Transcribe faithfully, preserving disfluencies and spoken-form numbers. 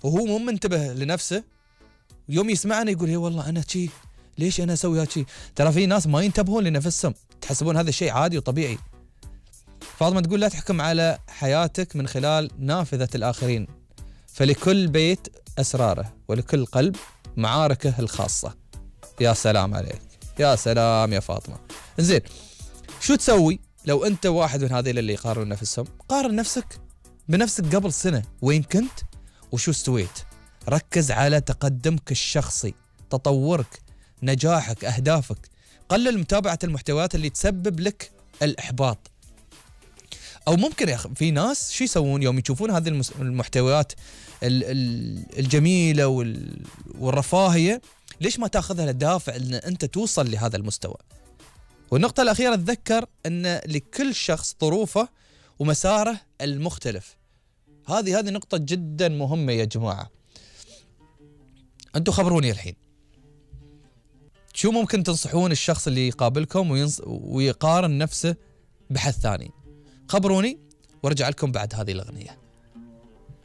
وهو مو منتبه لنفسه، يوم يسمعنا يقول هي والله أنا شي، ليش أنا أسوي هالشي؟ ترى في ناس ما ينتبهون لنفسهم، تحسبون هذا الشيء عادي وطبيعي. فاطمة تقول لا تحكم على حياتك من خلال نافذة الآخرين، فلكل بيت أسراره ولكل قلب معاركه الخاصة. يا سلام عليك، يا سلام يا فاطمة. زين، شو تسوي لو أنت واحد من هذيل اللي يقارنون نفسهم؟ قارن نفسك بنفسك قبل سنة، وين كنت وشو استويت. ركز على تقدمك الشخصي، تطورك، نجاحك، أهدافك. قلل متابعة المحتويات اللي تسبب لك الإحباط. أو ممكن يا أخي في ناس شو يسوون يوم يشوفون هذه المحتويات الجميلة والرفاهية، ليش ما تأخذها لدافع أن أنت توصل لهذا المستوى؟ والنقطة الأخيرة، تذكر أن لكل شخص ظروفه ومساره المختلف. هذه هذه نقطة جدا مهمة يا جماعة. أنتوا خبروني الحين، شو ممكن تنصحون الشخص اللي يقابلكم وينص... ويقارن نفسه بحد ثاني؟ خبروني وارجع لكم بعد هذه الأغنية.